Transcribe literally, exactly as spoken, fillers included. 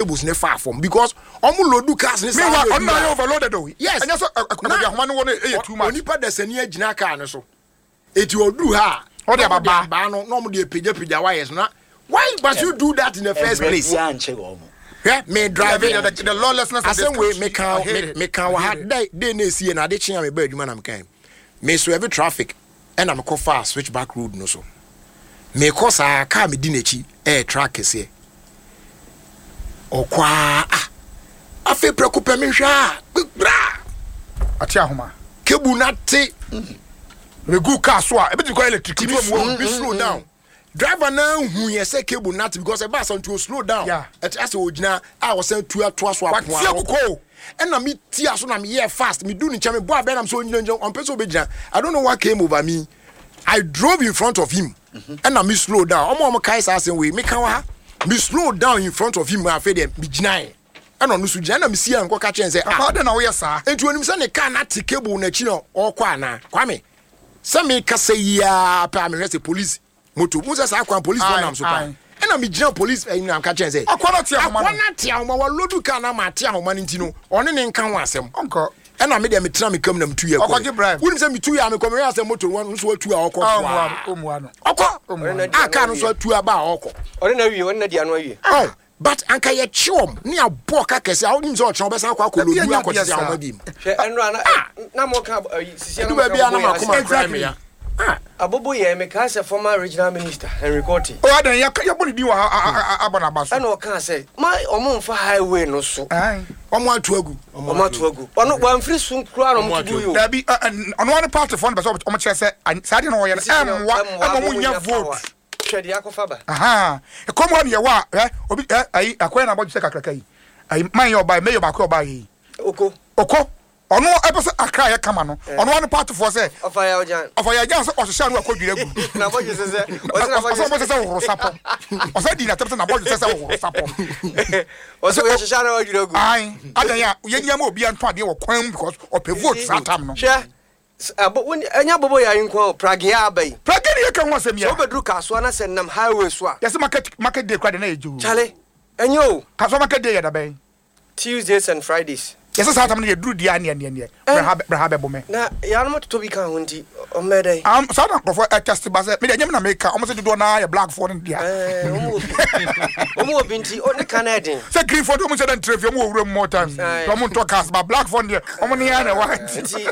Cables ne fa fam because ɔmo load cars ne saa. Meanwhile, load ɔno na a- ayɛ overloaded o. Yes. Ɛnyɛ sɛ Na- ɛkɔbi ahoma no wɔ no ɛyɛ too much. Onipa dasani agyina car no so, eti oduru ha a, Ɔde na ɔmo ababaa. de abaa no na ɔmo de apagyapagya wires no. Na why must you do that in the first place? Ɛbrɛ biara nkyɛ wɔn mo. Hwɛ, me drive The, the, the lawlessness of this asɛm wei country. meka. I hate it. Meka wɔ ha day day na esi yɛ na ade kyen a meba adwuma na meka yi, me swerve traffic ɛna mekɔ fa Switchback Road no so. Mekɔ saa, car me di n'akyi ɛyɛ truck kɛseɛ. Ɔkɔ a, ah, afei prɛko pɛ mehwɛ a, gbra. Ate ahoma. Cable na te. Regu car so a ebi ti kɔ electric. Ti mi slow mi slow down. Driver na hu yɛ sɛ cable na te because ɛba asa nti o slow down. Yeah. Ɛte asɛ ogyina a ɔsɛn tu atoa so apoa. Watia koko. Ɛna mi tia so na mi yɛ fast. Mi du ne nkyɛn, mi bɔ abɛn nam sɛ onyina gyina, ɔmpɛ sɛ ɔbɛgyina. I don't know what came over me, I drove in front of him. Ɛna mi slow down. Ɔmo a ɔmo kae saa asɛm wei, mi ka wɔ ha, mi slow down in front of him. Afei deɛ mi gyina yɛ, ɛna ɔno so gyina, ɛna mi si yɛ nkɔ ka kyɛn sɛ, Papa, ah, adi na woyɛ saa? Nti onim sɛ ne car na te cable n'akyi na ɔkɔ ana. Kwame, sɛ mi kasa yia pɛ a, mehwɛ sɛ police moto mu sɛ saa kwan police fɔ Aye, nam so paa. Aye. Ɛna mi gyina police ɛyi na ka kyɛn sɛ Akɔ na te ahoma no. Akɔ na te ahoma, wa load car na ma ate ahoma no, nti no ɔne ne nka ho asɛm. Ɔnkɔ. Ɛna mi deɛ mi tena mi kam na mi tu yɛ kɔ. Ɔkɔgye bribe. Wunim sɛ mi tu yɛ a, mi kɔ, mi yɛ asɛ moto no nso atu a ɔkɔ. Ah, Fua. ɔmua ɔmua no. Ɔkɔ. Ɔmua. A car no nso atu aba a ɔkɔ. Ɔne na wie, ɔne na di ano awie. Oh, but anka yɛ kye wɔm ne abɔ ka kɛse a, wonim sɛ ɔkyerɛ wɔbɛsan akɔ akɔ Ebi load anya akɔ deɛ tete ahoma saa. bi mu. Hwɛ, ɛnura na na mo ka ɛyi sisi Edu baabi a na ma koma kura Exactly. me ya. Ah. Abobo yɛ meka sɛ former regional minister Henry Quartey. O adan yɛ yɛ bɔ ne din wɔ ha a- a- a- abɔ n'aba so. Ɛna ɔka sɛ ma ɔmo nfa highway no so. Aye. Ɔmo atu agu. Ɔmo ato agu, ɔno wamfiri so koraa na ɔmo to gu yi o. Dabi, ɛ, ɛ, ɔno ano party fɔ no bɛ sɛ ɔmo kyerɛ sɛ an- saa deɛ na ɔyɛ no ɛmmoa ɛma ɔmo nya vote. Hwɛ deɛ akɔfa ba. Aha, ɛkɔm hɔ ne yɛwɔ a, ɛ, obi ɛ ayi akɔyɛ na abɔdwe sɛ kakraka yi ayi man yɛ ɔbaa mayor baako yɛ ɔbaa yi. Oko. Ɔkɔ, ɔno ɛpɛ sɛ Akra yɛ kama no, ɔno ano party foɔ sɛ ɔfa yɛ ɔgyan. Ɔfa yɛ agyan sɛ ɔhyehyɛ ano akɔ dwira gu. Na abɔdwe sɛ sɛ ɔsɛ na ɔsɛ ɔbɔ abɔdwe sɛ sɛ wɔhoro sapɔ, ɔsɛ di n'atɛm sɛ n'abɔdwe sɛ sɛ wɔhoro sapɔ. Ɔsɛ ɔyɛ hyehyɛ na wadwira gu. Ayi adan a yɛnyɛ ma obi antɔ adeɛ wɔ kwan mu because ɔpɛ vote saa tam no. Hwɛ, s- abo woni ɛnyɛ abobo yɛ ayi nko o, pragea aba yi. Pragea ne yɛka ho asɛm sɛ yɛ. Wobɛduru Kasoa na sɛ nam highway so a, yɛsɛ market market day kora de na yɛ gye o. Kyale, ɛnyɛ o. Kasoa market day yɛ dabɛn? Tuesdays and Fridays. Yɛsɛ saa tam no yɛduru deɛ a, neɛ neɛ neɛ brɛha brɛha bɛbɔ mɛ. Na yɛanom totɔ bi ka ho nti ɔmmɛ dɛn. Um, saa na nkurɔfoɔ ɛtɛst ba sɛ mede ɛnyɛ me na meka, ɔmo sɛ dodoɔ naa yɛ blackfoɔ no dea. Ɛɛ, ɔmo wɔ bi, ɔmo wɔ bi nti ɔ ne ka no ɛden. Sɛ greenfoɔ de ɔmo sɛ dɛ ntrɛ fie, ɔmo wɔ wuram more times. Aye. Ɔmo ntɔ cars ba, blackfoɔ no deɛ ɔmo ne yɛ na ɛwɔ ha nti. Nti